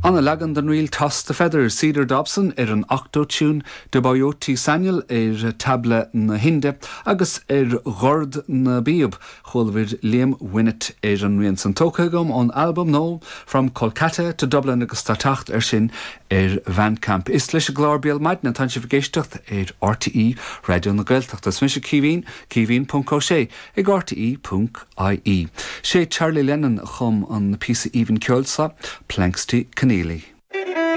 Ana leagan den ríl Toss the Feather, Cedar Dobson ar an octo-tune, Debajyoti Sanyal ar tabla na hInde agus ar dhord na bpíob, chualabhair Liam Winnett ar an rian san. Tógtha agam ón albam nua From Kolkata to Dublin agus tá teacht air sin ar Bhandcamp. Is leis an gclár Béal Maidine atánn sibh ag éisteacht ar RTÉ Raidió na Gaeltachta. Is mise Caoimhín, Caoimhín ponc Ó Sé ag rte ponc ie. Sé Charlie Lennon a chum an píosa aoibhinn ceoil seo, Planxty Keneally.